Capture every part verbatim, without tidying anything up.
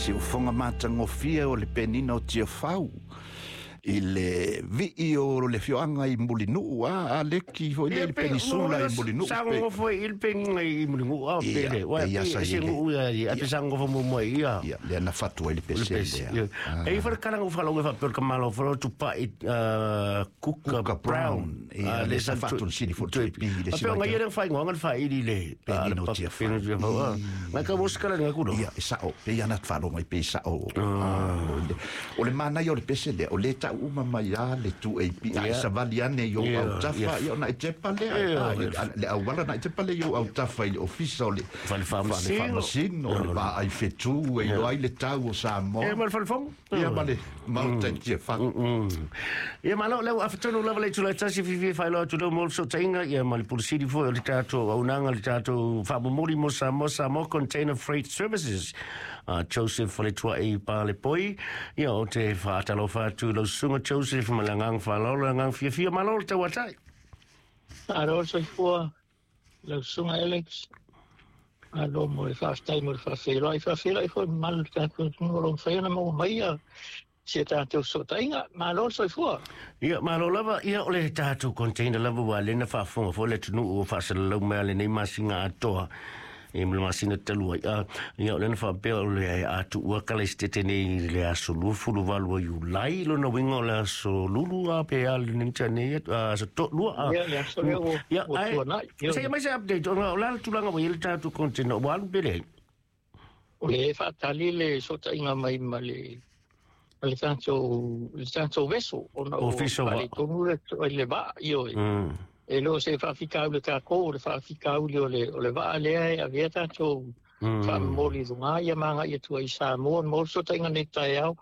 Siufoga matagofie o le penina o Tiafau i le vii o le afioaga i Mulinuu, a aleki foi le penisula i Mulinuu. Sagogofo i le penina i Mulinuu a pele wa pe se nuu ia a pe sagogofo muamua ia. Ia lea na fatu ai le pese lea. E fa kala ngo falo ngo fa pe ka malo fa tupa i Kuka Brown. Ia le sa fatu le sili fo pi le. Si ngai le fa ngo ngal fa i le penina o Tiafau ngai ka moskala ngai kudo. Ia e sao pe ia na falo mai pe sao o le mana o le pese lea o le tau uma mai a le tu A P ai savali ane i ou autafa ia ona e tepa lea le auala na e tepa lea i ou autafa i le ofisa o le fale faamasino o le vaai fetu e iloa ai le tau o Samoa ia ma le falefono ia ma le maota i Tiafau. Ia malo lea ua afatonu lava le itula e tasi fiafia faailoa atu lea mo le fesootaiga ia ma le pulusili foi o le tatou auaunaga le tatou faamomoli mo Samoa, Samoa Container Freight Services, Joseph Faletuai Palepoi. Ia o te faatalofa atu i lau susuga Joseph ma le agaga faaaloalo, le agaga fiafia, malo le tauatai. Malo le soifua lau susuga Alex. Malo mo le faafetai mo le faafeiloai, faafeiloai foi mamalu le tatou atunuu o lo o mafai ona maua mai ia si a tatou fesootaiga. Malo le soifua. Ia malo lava. Ia o le tatou container lava ua lena faafofoga foi le atunuu ua faasalalau mai lenei masina atoa e ma le masina talu ai. Ia o lena faapea o le atuua kala i setete nei i le aso luafulu valu o Iulai, lona uiga o le aso lulu a pe a lenei nei aso toalua. Ia le aso lea ua tuanai. Seia mai se update ona o le a le tulaga ua i ai le tatou container ua alu pe leai? O le faatali le fesootaiga mai ma le le tatou le tatou vessel ona o faaletonu le vaa ioe. E le o se faafitauli o tatou, o le faafitauli o le o le vaa lea e avea tatou faamomoli i luga ia ma agai atu ai i Samoa mo le fesootaiga nei taeao.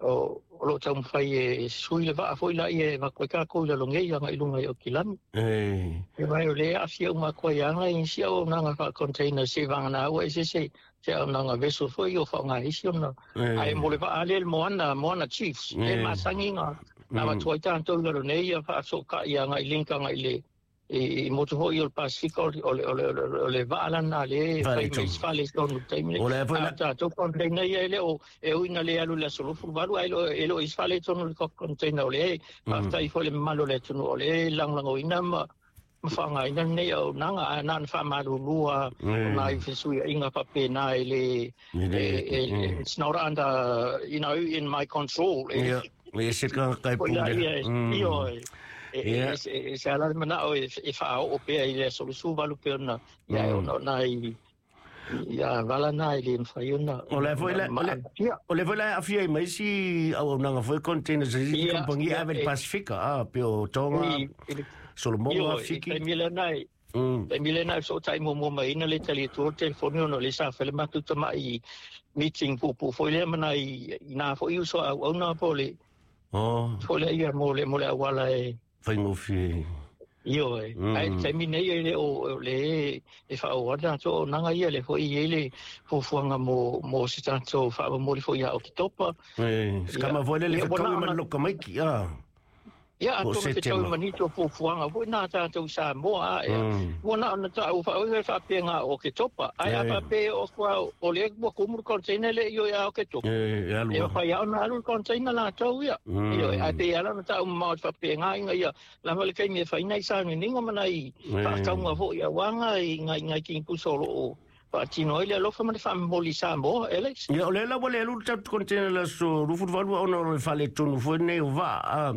O lo o taumafai e sui le vaa foi laia e avatu ai tatou i lalogei agai i luga i Aukilani. E mai o lea e aafia uma atu ai lava i isi auaunaga faa-container se vagana ua ese se se auaunaga vessel foi o faaaoga isi ona. Ae mo le vaa lea le Moana, Moana Chiefs, e masani na avatu ai tatou i lalonei ia faasootai agai i link agai i le i motu foi o le Pasifika o le o le o le vaa lana le fai mai isi faaletonu i le taimi lenei. A o tatou container ia e le o e ui ina le alu i le aso luafuluvalu ae e le o isi faaletonu i le container o lea faafetai foi le mamalu o le atunuu o lea e lagolagoina ma ma faaaogaina lenei auaunaga ae na ona faamalulua ona i fesuiaiga faapena e le it's not under, you know, in my control. Ia e se tagata e pule. Ioe. E se ala le manao e faaoo pea i le aso luasuvalu pe ona ia ona ona i ia vala na i le mafai ona. O le foi le o le foi le aafia ai mai isi auaunaga foi containers a isi kamupani e ave i le Pasifika a pe o Tonga, Solomoga, Fiti. I taimi lena i taimi lena e fesootai muamua mai ai na le tali atu o le telefoni ona o lea sa fai le matou tamai meeting puupuu foi lea ma nai i nā foi uso a auauna po o le foi lea ia mo le mo le auala e faigofie. Ioe, ae le taimi nei e le o le e faaauau le tatou auaunaga ia le foi i ai le fuafuaga mo mo se tatou faamomoli foi ia Oketopa. E, se kama foi le le fetaui ma le loka maiki a. Ia, atonu fetaui ma nisi o fuafuaga foi na tatou i Samoa a ea. Ua na ona taua faaoi faapea o Oketopa. Ae a faapea o kua o le ua kumu le container le ioe a Oketopa. E, alu. E mafai lava ona alu le container latou ia. Ioe, ae pei ala ona taua mamao faapea ina ia lava le taimi e fai nai sauniuniga ma nai faatauga foi auaga i nai nai kinipusa o lo o faatino ai le alofa ma le faamomoli i Samoa, Alex. Ia, o lea la ua le alu le tatou container i le aso luafuluvalu ona o le faaletonu foi lenei o vaa.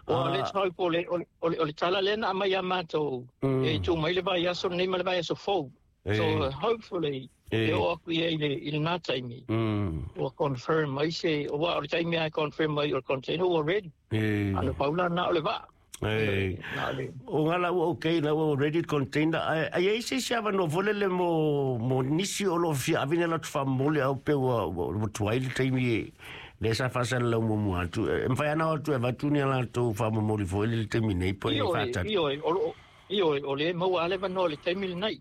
Well, let's hope o le, o le, o le tala lea na aumai ia matou e tuu mai le vaiaso lenei ma le vaiaso fou. So, hopefully, e oo atu ia i le, i lena taimi. Ua confirm mai se, ua o le taimi lava e confirm mai o le container ua ready. Ana pau la na o le vaa. E, o ngā la ua okay, la ua ready container. Ai ai ai se isi avanoa foi lele mo, mo nisi o lo o fia ave ni a latou faamomoli au pe ua, ua, ua tuai le taimi e lea sa faasalalau muamua atu. E mafai lava ona o atu e avatu ni a latou faamomoli foi lele i le taimi nei po e Ioe, faatali. ioe, o lo o, ioe, o lea e maua lava le avanoa i le taimi lenei.